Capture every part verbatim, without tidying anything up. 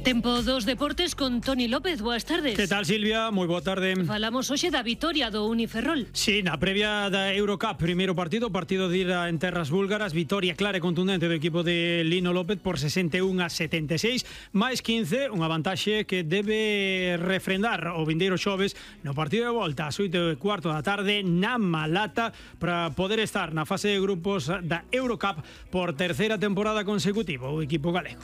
Tempo dos deportes con Toni López, boas tardes. Que tal, Silvia? Moi boa tarde. Falamos hoxe da vitoria do Uniferrol. Sí, na previa da Eurocup, primeiro partido, partido de ida en terras búlgaras, vitoria clara e contundente do equipo de Lino López por sesenta e un a setenta e seis, máis quince, unha vantaxe que debe refrendar o vindeiro xoves no partido de volta ás oito e cuarto da tarde na Malata para poder estar na fase de grupos da Eurocup por terceira temporada consecutiva o equipo galego.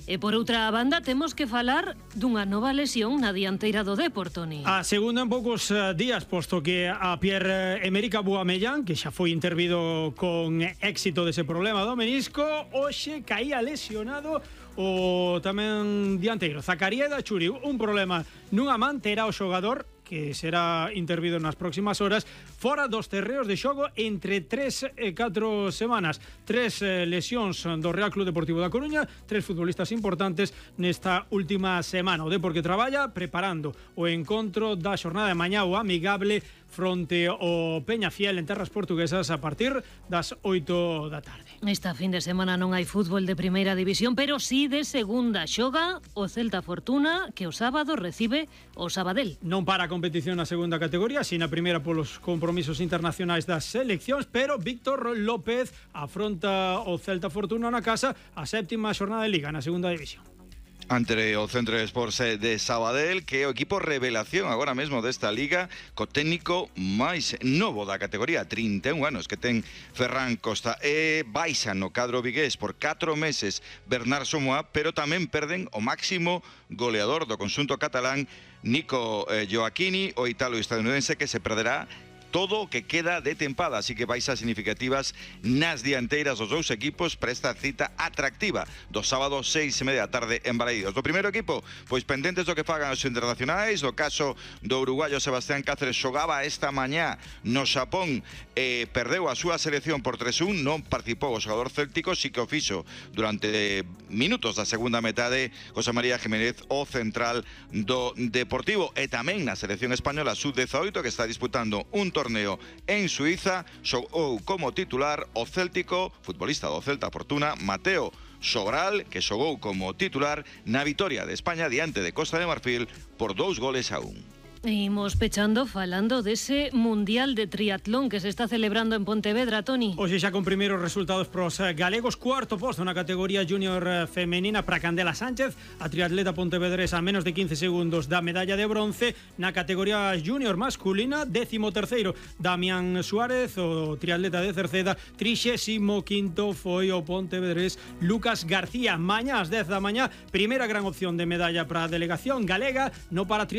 E por outra banda temos que falar dunha nova lesión na dianteira do Depor, Toni. A segunda en poucos días, posto que a Pierre-Emerick Aubameyang, que xa foi intervido con éxito dese problema do menisco, hoxe caía lesionado o tamén dianteiro Zakaria Dachuri. Un problema nunha man, terá o xogador que será intervido nas próximas horas fora dos terreos de xogo entre tres e catro semanas. Tres eh, lesións do Real Club Deportivo da Coruña, tres futbolistas importantes nesta última semana. O Depor que traballa preparando o encontro da xornada de mañá o amigable fronte ao Peñafiel en terras portuguesas a partir das oito da tarde. Esta fin de semana non hai fútbol de primeira división, pero sí de segunda. Xoga o Celta Fortuna, que o sábado recibe o Sabadell. Non para a competición na segunda categoría, si na primeira polos compromisos internacionais das seleccións, pero Víctor López afronta o Celta Fortuna na casa a séptima xornada de Liga na segunda división. Ante o Centro de Sports de Sabadell, que é o equipo revelación agora mesmo desta liga, co técnico máis novo da categoría, trinta e un anos que ten Ferran Costa. E baixa no cadro vigués por catro meses Bernard Somoa, pero tamén perden o máximo goleador do conxunto catalán, Nico eh, Gioacchini, o italo-estadounidense, que se perderá todo o que queda de tempada, así que baixas significativas nas dianteiras dos dous equipos para esta cita atractiva do sábado seis e media da tarde en Balaídos. Do primeiro equipo, pois pendentes do que fagan os internacionais. No caso do uruguayo Sebastián Cáceres, xogaba esta mañá no Xapón e perdeu a súa selección por tres a un, non participou o xogador céltico, si que o fixo durante minutos da segunda metade José María Jiménez, o central do Deportivo. E tamén na selección española sub dezaoito, que está disputando un torneo torneo en Suiza, xogou como titular o céltico futbolista do Celta Fortuna, Mateo Sobral, que xogou como titular na vitoria de España diante de Costa de Marfil por dous goles a un. Imos pechando falando dese Mundial de Triatlón que se está celebrando en Pontevedra, Toni. Hoxe xa con primeiros resultados pros galegos. Cuarto posto na categoría junior femenina para Candela Sánchez, a triatleta pontevedresa a menos de quince segundos da medalla de bronce. Na categoría junior masculina, décimo terceiro Damián Suárez, o triatleta de Cerceda. Trixésimo quinto foi o pontevedrés Lucas García. Mañá ás dez da mañá, primeira gran opción de medalla para a delegación galega no para triatlón